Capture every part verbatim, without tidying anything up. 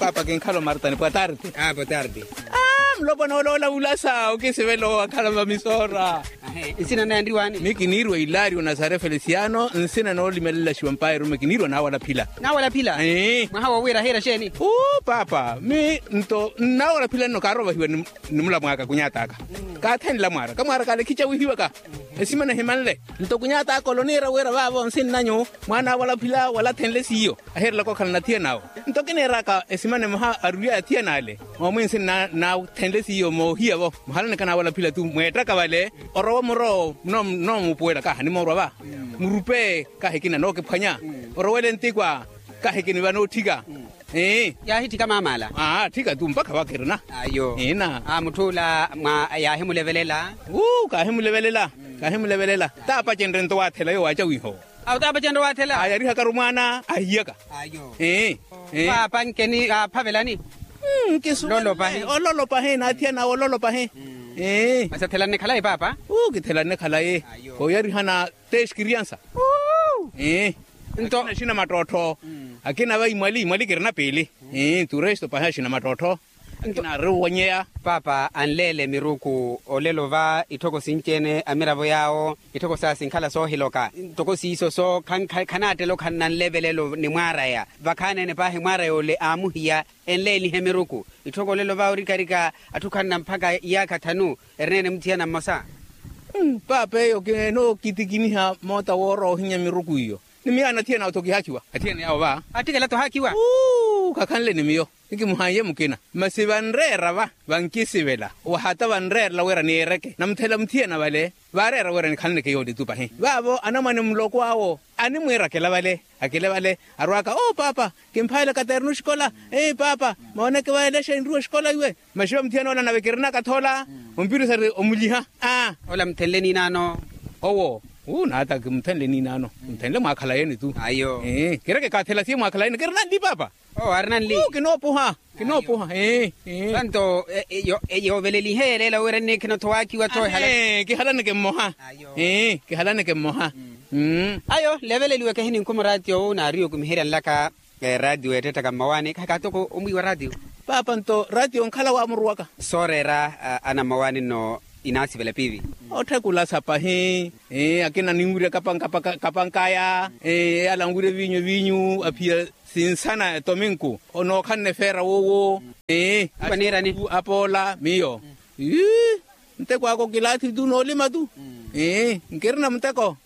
Paapa kinkhala omartani pwa tarti. Aa pwa tarti. Aa mulopwana ola olavulasa okisivela owakhala vamisoora. Nsina naye anriwaani? Mi kiniirwa ilario nasare felisiano nsina noolimelelashiwa mpaayi erume kiniirwa naawalaphila. Naawalaphila? Mwaha wowiira ahiira xeeni? Uu paapa mi nto nnaawalaphila nno kaarovahiwa ni mulamwaaka kunyataka. Kaathenla mwaara kamwaara kale khicawihiwaka. Esimana ehimanle nto kunyataka oloniira wira vaavo nsinnanyu mwaana awalaphila wala athenle siiyo. Ahiirelaka okhala nathiyana awo nto kiniiraka esimana emoha aruryaya athiyana ale. Moomwinsi nnathenle siiyo moohiya-vo muhalaneke naawalaphila tu mweettaka vale. Orowa muro nnoomupuwela kaha nimoorwa va murupe kaha ekina nookiphwanya. Orowele ntikwa kaha ekiniva nootthika. Yaahitthika maamala. Aa tthika tu mpakha vakirina. Ayo. Ina. Aa mutth'ula mwa yaahimulevelela. Uu kaahimulevelela. Kaahimulevelela. Taapacenrye nto waathela yoowo aacawiha owo. Awo taapacenrye waathela. Aa yarihakaru mwaana ahiyaka. Ayo. Paapa nkeni aaphavelani. Ololopahi. Ololopahi naathiyana awe ololopahi. Masi athelani khalayi paapa. Uu kithelani khalayi. Kooyarihana. Te exkiriansa. Nto akina axina mattottho. Akina va imwali imwali kirina piili. Turesto pahi axina mattottho. Akina ari owanyeya. Paapa anleele miruku olelo va itthoko sinci-ene amiravo yaawo itthoko saya sinkhala soohiloka ntoko siiso so khanaattela okhala nanlevelelo ni mwaaraya vakhaani-ene paahi mwaaraya ole aamuhiya. Enleelihe miruku itthoko olelo va orikarika atthu khanna mpakha iyaakha thanu. Erina-ene muthiyana mmosa. Paapa eyo kinookitikiniha moota woora ohinya miruku iyo. Ni miyo anathiyana awo-tho kihaakiwa athiyana yaawo va. Attikela-tho haakiwa. Kakhanle ni miyo. Ni kimuhanye mukina masi vanreera va vankisivela wahata vanreerela wira niireke namuthela muthiyana vale. Vaareera wira nikhalaneke yoole tu pahi vaavo anamwane muloko awo animwiirakela vale. Akile vale arwaaka oo paapa. Kimphaile katernu xikola. Paapa mooneke vaelexa enruwa xikola iwe. Maxiva muthiyana ola nave kirinaka-tho ola. Ompirisari omulyiha. Ola muthenle niinaano. Owo uu naata kimuthenle niinaano. Muthenle mwaakhalayeni tu. Kireke kaathela siye mwaakhalayeni kirina nli paapa. Oo ari nanli. Kinoopuha. Kinoopuha. Vanto yoovelelihe yelela wira nnikhina-tho waakiwa-tho. Kihalaneke mmoha. Kihalaneke mmoha. Ayo nleveleliweke hininkhuma oraatiyo owo naariwe okumiheryanlaka. Eraatiyo eettettaka mmawaani khakhaattoko omwiiwa raatiyo. Paapa nto raatiyo onkhala waamuruwaka. Sooreera ana mmawaani nno inaasivela piivi. Otthakulasa pahi. Akina ninwirya kapankaya. Eyala anwirya eviinyu eviinyu aphiya sinsana etominku. Onookhanne feera woowo. Apoola miyo. Muteko aka okilaathi tu noolima tu. Nkirina muteko.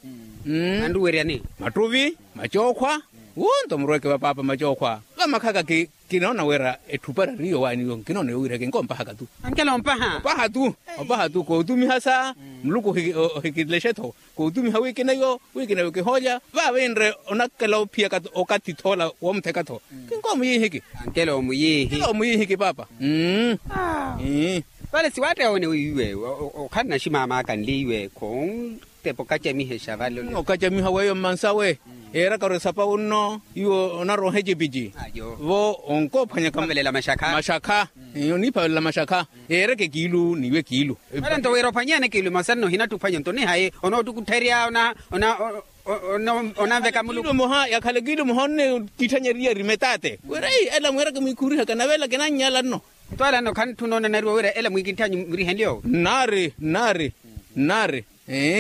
Anruweryani mattuvi macookhwa. Wunto murweke va paapa macookhwa vamakhaka. Kinoona wira etthupari ariyo waani yo nkinoona yowiirya kinkompahaka tu. Ankela ompaha. Opaha tu. Opaha tu kootumiha sa muluku ohikilexe-tho. Kootumiha wiikina yo wiikina yo kihoolya. Vaavinre onakela ophiya okathi thoola woomutheka-tho. Kinkoomuyiihiki. Ankela omuyiihi. Ankela omuyiihiki paapa. Vale siwaatteyawene wiiwe. Okhala naximaamaaka nliiwe khontepa okacamihexa vale. Okacamiha weeyo mmansawe. Eeraka ori esapa wunno iwe onarwa ohecipeci. Vo onkoophwanyaka mashakha. Oniiphavelela mashakha. Eereke kiilu n'iwe kiilu. Vale nto wira ophwanyihane kiilu emosa nno ohinattuphwanya nto onihaye onoottukuttherya. Onanveka muluku. Kiilu moha yakhala kiilu moha onne kitthanyeriya rimetaate wira ei ela mwiiraka mwiikhurihaka nave ela kinannyala nno. Nto ala nno khantthuna onanariwa wira ela mwiikintthanyu murihenlyo. Nnaari nnaari nnaari.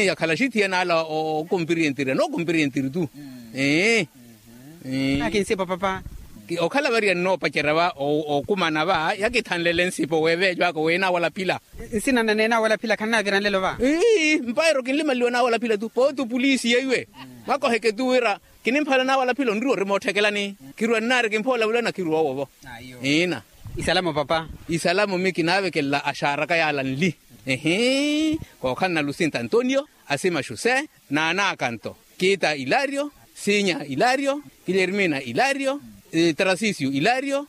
Yakhala axithiyana ala okompiriyentiri anookompiriyentiri tu. Akinsipa papa. Okhala variya nnoopacerya va okumana va yakithanlele nsipo weeveejo aka weena awalaphila. Nsina nane naawalaphila khannaavira nlelo va. Mpairo kinlimanliwa naawalaphila tu pooti opuliisi yeiwe. Mwakoheke tu wira kinimphala naawalaphila onriwa orima otthakelani. Kirwa nnaari kimpha olavulana kirwa owo vo. Ina. Isalamo papa. Isalamo mi kinaavekelela axaaraka yaala nli. Ehi. Kookhala nalusinta antonio asima xuse naanaaka nto kiita ilario. Sinya ilario. Kilermina ilario. Tarasisio ilario.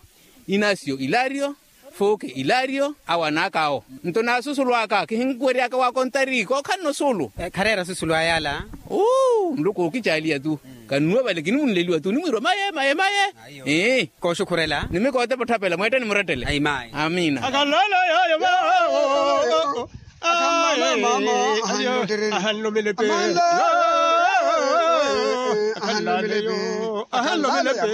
Inasio ilario. Fuuke ilario. Awo anaaka awo nto naasusulwaaka kihinkuweryaka waakontari kookhalana osuulu. Khareera asusulu ayaala. Uu muluku ookicaaliya tu. Kannuwe vale kinimunleliwa tu nimwiirwa maye maye maye. Kooxukhurela. Nimikootepa otthapela mweettani murettele. Amina. Akhalale yaayo va. Ahanlomelepe. Ahanlomelepe.